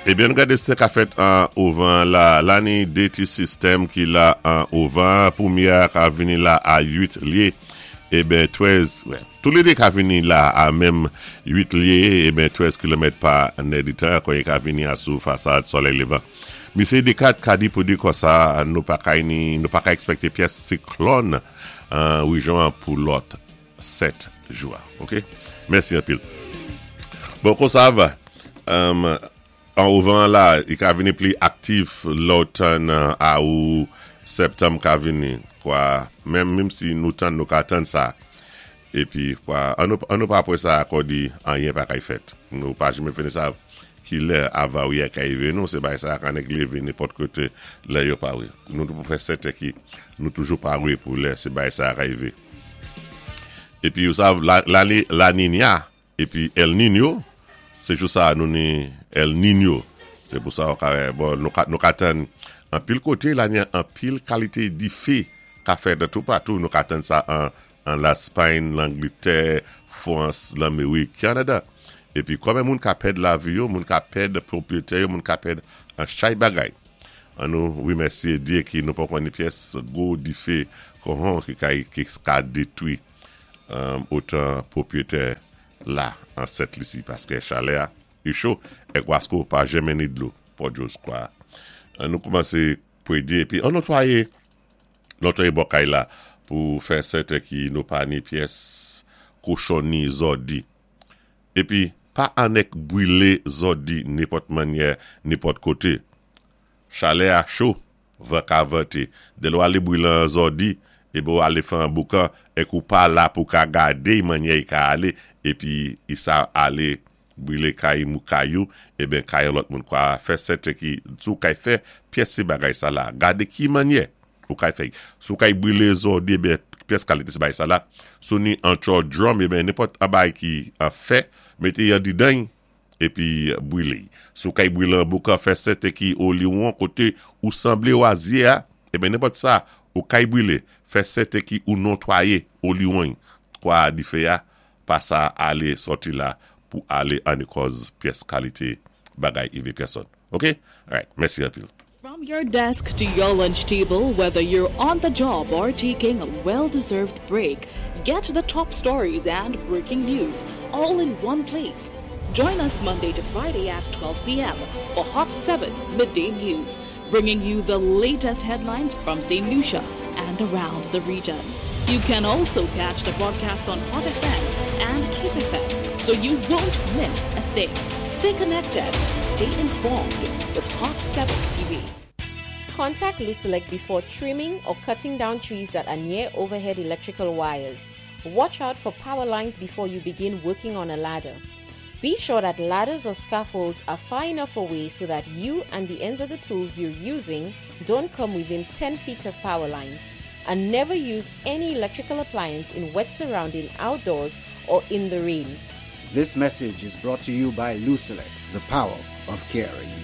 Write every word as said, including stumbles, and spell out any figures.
Ebyen, gade sa ka fèt an ovan la. La ni dé ti sistèm ki la an ovan. Pwémyé ka vini la a uit lyé. Eben, trèz, wè. Tou lé dé ka vini la a menm uit lyé, eben trèz kilomèt pa nèditan, kon yo ka vini a sou fasad solèy lévan. Misé Decat ka di pou di konsa, nou pa ka ni, nou pa ka èkspèkté pyès siklòn an rejyon an pou lòt sèt jou. OK? Mèsi anpil. Bon, konsa va. Um, an ovan la, i ka vini pli aktif lotòn a ou septanm ka vini, kwa, menm, menm si nou tann, nou ka tann sa. Épi, kwa, an nou, an nou pa apwé sa akò di anyen pa kay fèt. Nou pa janmen fini sa ki lè avarya ka rivé nou, sé bay sa ka nèk lévé nenpòt koté lè yo paré. Nou pou fè sèten ki nou toujou paré pou lè sé bay sa ka rivé. Épi, ou sav, la, la, la Niña, épi El Niño, sé jou sa nou ni El Niño. Sé pou sa, bon, nou ka, nou ka tann an pil koté, la ni an pil kalité difé ka fèt de tou patou. Nou ka tann sa an, an Laspay, Langlétè, Frans, Lamérik, Kanada. Épi, konbyen moun ka pèd lavi yo, moun ka pèd pwopriyété yo, moun ka pèd an chay bagay. An nou wimèsyé Dyé ki nou pa konnen pyès gwo difé kon ki ka, ki ka détwi um, otan pwopriyété la an Sent Lisi paské chalè a i cho é Gwasko pa janmen ni dlo pòdjòs kwa. An nou koumansé pwédi épi an notwayé notwayé bò kay la pou fè sèten ki nou pa ni pyès kochon ni zòdi. Épi pa annèk bwilé zòdi nenpòt mannyè nenpòt koté. Chalè a cho, van ka vanté. Dé lè ou alé bwilé an zòdi, épi ou alé fè an boukan, é kou pa la pou ka gadé mannyè i ka alé, épi i sa alé bwilé kay mou kayou, eben kay lòt moun kwa fè sèten ki sou kay fè pyès sé bagay sa la. Gadé ki mannyè ou kay fè. Sou kay bwilé zòdi, eben pyès kalité sé bagay sa la. Sou ni an tcho drum, eben nenpòt an bay ki an fè, mété yon didan, épi bwilé. Sou kay bwilé an boukan, fè sèten ki ou li ou an koté ou sanblé wazye a, eben nenpòt sa, ou kay bwilé, fè sèten ki ou notwayé ou li ou an, kwa difé a, pa sa alé sòti la pou alé an kòz pyès kalité bagay ivé pèsòn. OK? Alright, mèsi anpil. From your desk to your lunch table, whether you're on the job or taking a well deserved break, get the top stories and breaking news all in one place. Join us Monday to Friday at twelve p m for Hot seven Midday News, bringing you the latest headlines from Saint Lucia and around the region. You can also catch the broadcast on Hot F M and Kiss F M, so you won't miss a thing. Stay connected, stay informed with Hot seven T V. Contact Lucelec before trimming or cutting down trees that are near overhead electrical wires. Watch out for power lines before you begin working on a ladder. Be sure that ladders or scaffolds are far enough away so that you and the ends of the tools you're using don't come within ten feet of power lines. And never use any electrical appliance in wet surrounding outdoors or in the rain. This message is brought to you by Lucelec, the power of caring.